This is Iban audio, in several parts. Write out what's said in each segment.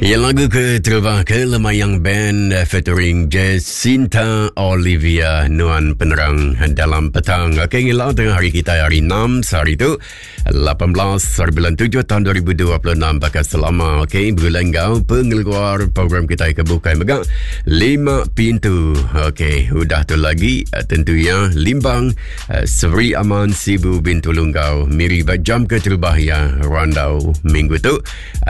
Ya lagu ke terubah ke Lemayang Band featuring Jacinta Olivia Nuan Penerang dalam petang. Okey ngilau tengah hari kita hari 6 sehari tu 18 hari bulan 7 tahun 2026 bakal selama okey bulan enggau pengeluar program kita ke bukai mega lima pintu. Okey udah tu lagi tentunya Limbang Seri Aman Sibu Bintulu enggau Miri ba jam keterubah ya randau minggu tu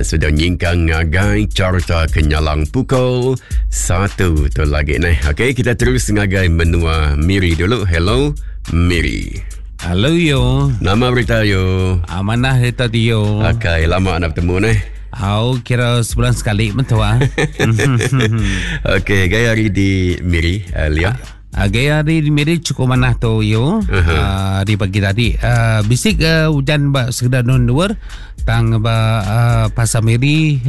sudah nyingkang ngagai carta kenyalang pukul 1 tu lagi neh. Okey kita terus ngagai menua Miri dulu. Hello Miri. Hello yo. Nama berita yo? Amanah berita yo. Okey lama nak bertemu neh. Au kira sebulan sekali mentua. Okey gaya hari di Miri Lia. Gaya hari di Miri cukup manah tu yo. Uh-huh. Hari pagi tadi bisik ujan ba sekedar nun luar tang ba pasar Miri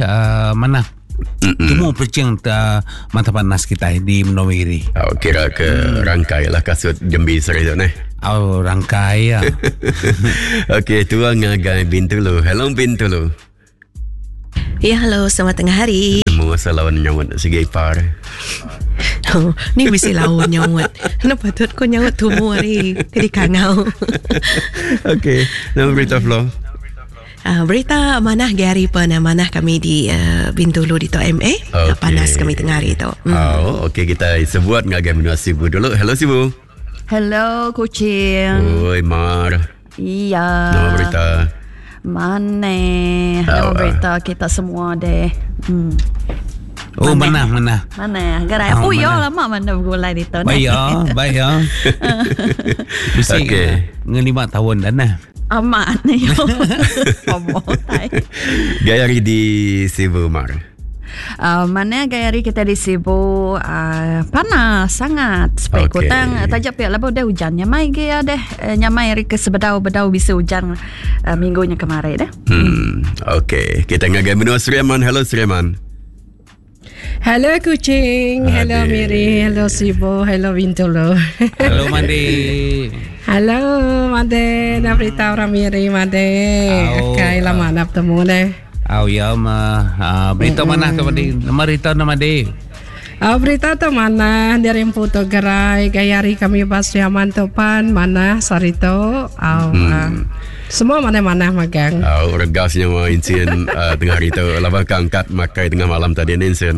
manah. Temu percing ta mata panas kita di menua Miri. Oh, kira ke rangkai lah kasut jembi seri tu neh. Oh, rangkai ya. Okey, tuang ngagai Bintulu. Hello Bintulu. Ya, hello, selamat tengah hari. Temu asal lawan nyaut sigi ipar. Oh, ni bisi lawan nyaut. Kenapa patut ko nyaut tumu hari jadi kangau. Okey, nama berita Flo. Berita manah ge hari pun manah kami di Bintulu di Tok MA. Okay. Panas kami tengah hari tu. Oh, okey kita sebuat ngagai menua Sibu dulu. Hello Sibu. Hello Kuching. Oi Mar. Iya. Nama berita. Mana? Nama berita kita semua deh. Oh, mana mana. Mana? Gerai. Oh, ya lama mana bergulai di tu. Baik ya, baik ya. Bisi Okey. ngelima tahun dah nah. Amat ni. Gaya hari di Sibu Mar. Mana gaya hari kita di Sibu panas sangat supaya Okey. kutang taja pia lebuh deh hujan nyamai ge ya deh nyamai hari ke sebedau-bedau bisa hujan minggunya kemarin deh. Okey, kita ngagai menua Sri Aman. Hello Sri Aman. Hello Kuching, hello Adik. Miri, hello Sibu, hello Bintulu. Hello Mandi. Hello Made, nak berita orang Miri Made. Au. Kai lama nak bertemu deh. Au ya ma berita mana tu Mandi? Nama berita nama Mandi. Berita tu mana dari Empu tu gerai gaya hari kami bas Sri Aman tu pan mana sarito. Au, semua mana-mana magang. Au regasnya ma insien tengah hari tu laba kangkat makai tengah malam tadi ni insien.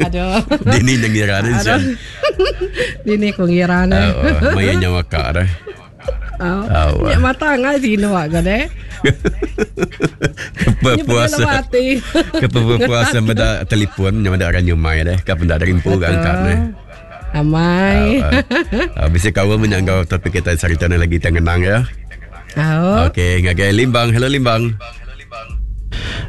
Aduh. Dini yang ngira ni insien. Dini ku ngira ni. Au, maya nyawa kak dah. Au. Au. Nyak mata ngai tinu ak deh. Kepuasa. Kepuasa benda telefon yang ada orang nyumai deh. Kau benda dari empu angkat deh. Amai. Bisa kau menyanggau topik kita cerita ni lagi tengenang ya. Au. Okey, ngagai Limbang. Hello Limbang.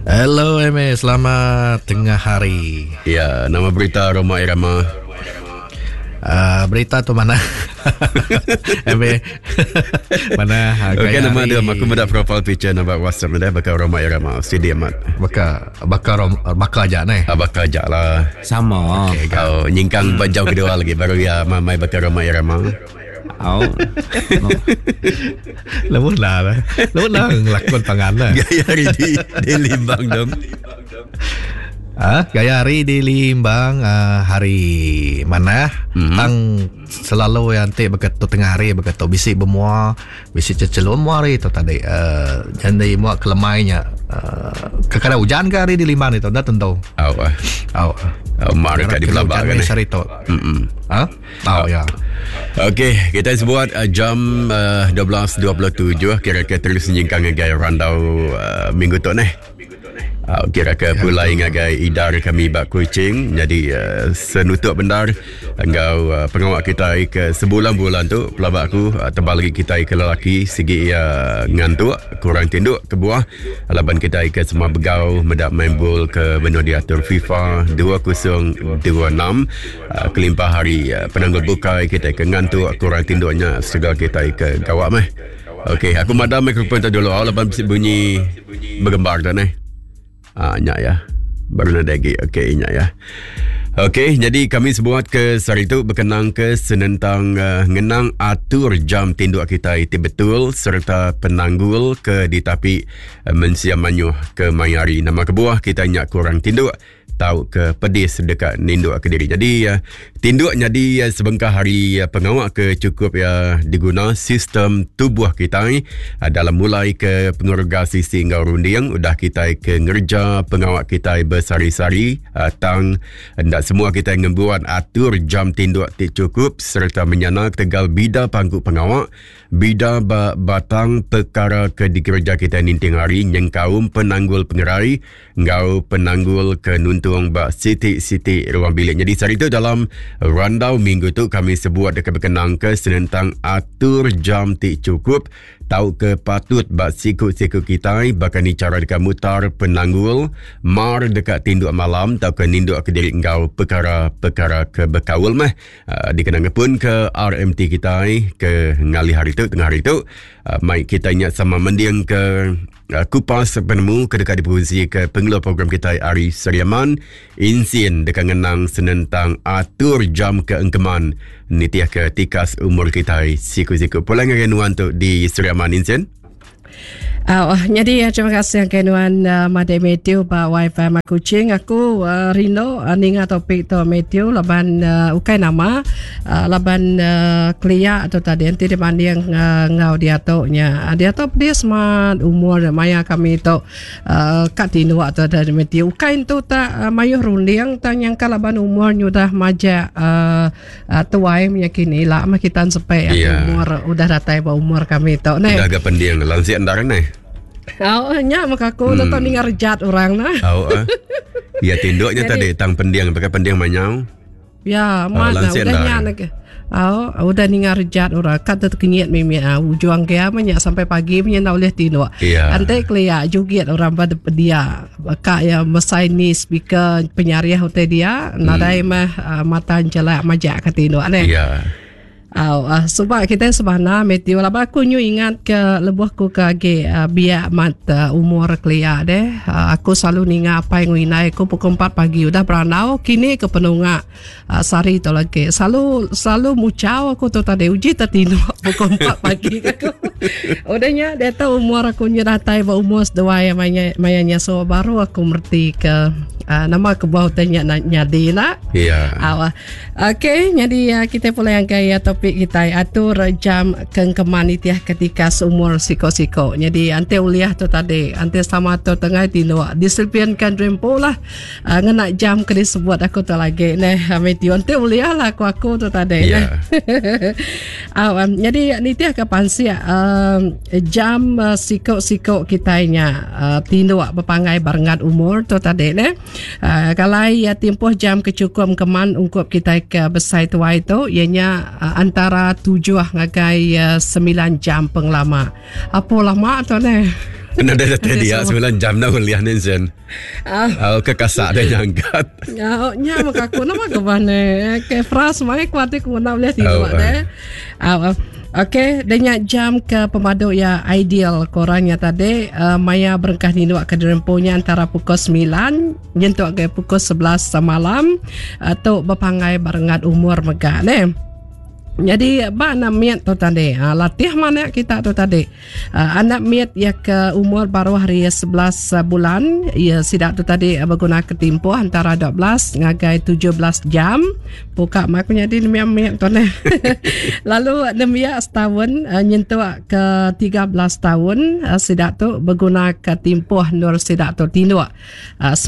Hello MA, selamat tengah hari. Ya, nama berita Roma Irama. Berita tu mana? MA. Mana? Okey, gaya nama hari dia aku mendak profile picture nama WhatsApp dia bakal Roma Irama. Sidi amat. Bakal bakal rom, bakal aja ni. Bakal aja lah. Sama. Okey, Oh, nyingkang bajau kedua lagi baru ya mamai bakal Roma Irama. Au. Lembut lah. Lembut lah ngelakon pangan lah. Gaya hari di Limbang dong. Gaya hari di Limbang hari mana? Tang selalu yang nanti berketu tengah hari berketu bisi bermua, bisi cecelum mua hari tu tadi. Jadi mua kelemainya. Kadang hujan ke hari di Limbang itu dah tentu. Au. Au. Au mar kat di Belabak kan. Hari tu. Ha? Au ya. Okey, kita sebut jam 12.27 kira-kira terus nyingkang ngagai randau minggu tu ni. Kira ke pulai ngagai idar kami bak Kuching. Jadi senutup bendar engkau pengawak kita ke sebulan-bulan tu pelabak aku tebal lagi kita ke lelaki segi ngantuk kurang tinduk ke buah laban kita ke semua begau mendak main bol ke benua diatur FIFA 2026 kelimpah hari penanggul bukai kita ke ngantuk kurang tinduknya segala kita ke gawak meh. Okey, aku madam mikrofon tu dulu laban bunyi bergembar tu ni. Nyak ya. Baru nak lagi. Okey, nyak ya. Okey, jadi kami sebuat ke sehari tu berkenang ke senentang uh, ngenang atur jam tinduk kita ti betul serta penanggul ke ditapi uh, mensia manyuh ke maya hari. Nama kebuah kita nyak kurang tinduk tau ke pedis deka ninduk ke diri. Jadi uh, tinduk nyadi uh, sebengkah hari uh, pengawa ke cukup ya diguna sistem tubuh kita dalam mulai ke pengurga sisi enggau runding udah kita ke ngerja pengawa kita besari-sari tang enda semua kita ngembuan atur jam tinduk ti cukup serta menyana ketegal bida pangku pengawa Bida ba batang pekara ke dikereja kitai ninting hari nyengkaum penanggul pengerai enggau penanggul ke nuntung ba siti-siti ruang bilik. Nyadi sehari tu dalam randau minggu tu kami sebuat deka bekenangka senentang atur jam ti chukup tauka patut ba siku-siku kitai baka ni chara deka mutar penanggul mar deka tinduk malam tauka ninduk kediri enggau pekara-pekara ke bekaul meh. Uh, dikena ngepun ke RMT kitai ke ngalih hari tu tengah hari tu uh, mai kita nya sama mending ke uh, kupas penemu ke deka diperungsi ke pengeluar program kitai ari Seriaman Insin deka ngenang senentang atur jam ke engkeman nitih ke tikas umur kitai siku-siku. Pulang ngagai nuan tu di Seriaman Insin. Uh, jadi terima kasih ke nuan uh, Made Matthew ba Wi-Fi ma Kuching. Aku uh, rindu uh, ninga topik tu Matthew laban uh, ukai nama uh, laban uh, kelia tu tadi nanti dibanding uh, ngau dia tu nya. Uh, dia tu dia smart umur maya kami tu uh, kat tindu tu dari Matthew. Ukai tu tak uh, mayuh runding tang nyangka laban umur nyudah majak uh, uh, tuai menyakini lah mah kita sampai yeah. umur udah datai ba umur kami tu ne. Udah ga pending langsik endar ne. Oh, nya maka aku hmm. tetap ningar rejat orang nah. Oh, eh. Ya tinduknya tadi tang pending pakai pending manyau. Ya, mana oh, udah nya nak. Oh, udah ningar rejat orang kat terkenyit mimi ah ujung ke nya sampai pagi punya nak boleh tinduk. Yeah. Ante kelia jugit orang pada dia Ka iya mesai ni speaker penyariah utai dia nadai meh uh, mata enjelak majak ke tinduk neh. Ya. Au uh, suba kita sebana Matthew laban aku nyu ingat ke lebuh aku ke agi uh, biak mat uh, umur kelia deh uh, aku selalu ninga apai ngu indai aku pukul 4 pagi udah berandau kini ke penunga uh, sehari tu lagi selalu selalu mucau aku tu tadi uji tertinduk pukul 4 pagi aku udah nya dia tahu umur aku nya datai ba umur seduai maya maya nya so baru aku merti ke uh, nama kebuah utai nya nyadi nak ya yeah. Okey, jadi uh, kita pula yang gaya topik kita atur jam kengkeman itiah ketika seumur siko-siko. Jadi ante uliah tu tadi, ante sama tu tengah tinduk. Disiplinkan rempo lah. Uh, ngena jam ke disebut aku tu lagi neh Matthew enti ulih lah aku aku tu tadi yeah. neh. uh, um, jadi nitih ke pansik um, jam uh, siko-siko kitai nya uh, tinduk bepangai barengat umur tu tadi neh. Uh, kalau ya tempoh jam ke cukup keman ungkup kitai ke besai tuai tu ianya uh, antara 7 ngagai uh, 9 jam pengelama. Apa lama tu neh? Kena dah tadi ya 9 jam dah kuliah ni Zen. Ah. Uh, ke kasak dia nyangkat. Ya, nya maka aku nama ke mana? Ke fras mai kuat aku nak boleh tidur oh, deh. Ah. Okey, dengan jam ke pemadu ya ideal korangnya tadi uh, maya berengkah ninduk ke dirempunya antara pukul 9 nyentuk ke pukul 11 malam atau uh, berpangai barengat umur mega ne. Jadi ba anak mit tu tadi, ha, latih mana kita tu tadi. Ha, anak mit ya ke umur baru hari 11 bulan, ya sidak tu tadi berguna ke tempoh antara 12 ngagai 17 jam. Buka mak punya di nembiak mit tu ne. Lalu nembiak setahun nyentuk ke 13 tahun sidak tu berguna ke tempoh nur sidak tu tinduk. 9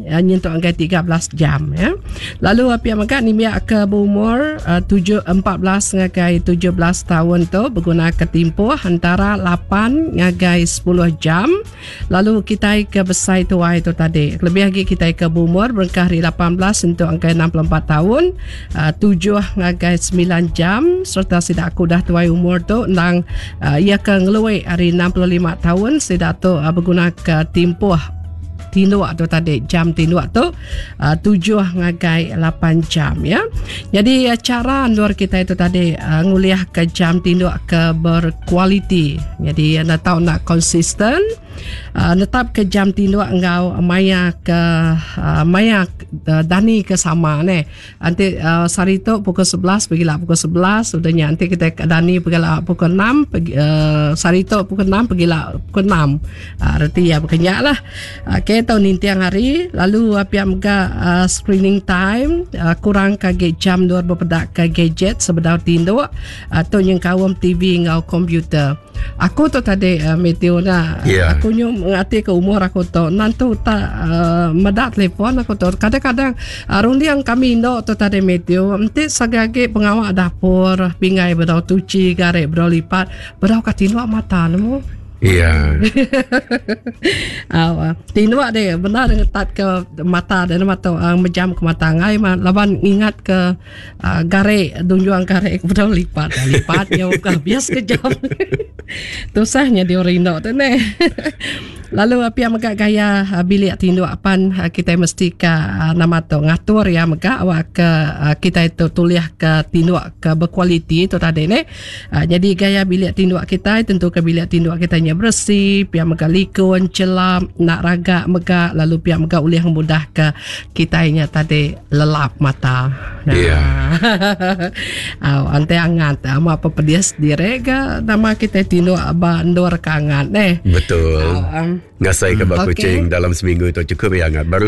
nyentuk ngagai 13 jam ya. Lalu pia mega nembiak ke berumur 7 14 ngagai 17 tahun tu berguna ke timpuh antara 8 ngagai 10 jam. Lalu kitai ke besai tuai tu tadi lebih lagi kitai ke berumur berengkah hari 18 untuk ngagai 64 tahun 7 ngagai 9 jam serta sida aku dah tuai umur tu endang iya ke ngelui hari 65 tahun sida tu berguna ke timpuh tinduk tu tadi jam tinduk tu 7 ngagai 8 jam ya. Jadi cara endur kita itu tadi nguliah ke jam tinduk ke berkualiti. Jadi anda tahu nak konsisten. Uh, netap ke jam tinduk enggau maya ke uh, maya uh, dani ke sama ne. Anti uh, sehari tu pukul 11 pegila pukul 11 udah nya anti kita ke dani pegila pukul 6 pegi, uh, sehari tu pukul 6 pegila pukul 6. Uh, reti ya bekenya lah. Okey tau ninting hari lalu uh, pia mega uh, screening time uh, kurang ke agi jam luar bepeda ke gadget sebedau tinduk uh, tu nyengkaum TV enggau komputer. Aku tu tadi uh, Matthew na yeah. aku nyu ngati ke umur aku tu nantu tak uh, meda telefon aku tu kadang-kadang uh, runding kami indo tu tadi Matthew enti sagi-agi pengawa dapur pinggai bedau tuci garik bedau lipat bedau ka tinduk mata nemu Iya. Yeah. uh, tinduk deh benar ngetat ke mata deh mata uh, mejam ke mata ngai laban ngingat ke Uh, garik dunjuang garik bedau lipat dah lipat nya buka bias kejap. Tusahnya dia rindu tu ne. Lalu pia mega gaya ah, bilik tinduk apan ah, kita mesti ka ah, nama tu ngatur ya mega awak ke kita itu tulih ke tinduk ke berkualiti tu tadi ne. Jadi gaya bilik tinduk kita tentu ke bilik tinduk kita nya bersih, pia mega likun, celap, nak ragak mega lalu pia mega ulih mudah ke kita nya tadi lelap mata. Iya. Au ante angat ama apa pedis dire ga nama kita tinduk ba endur ke angat neh. Betul. Au, um, Ngasai ke ba okay. Kuching dalam seminggu tu cukup ya angat. Baru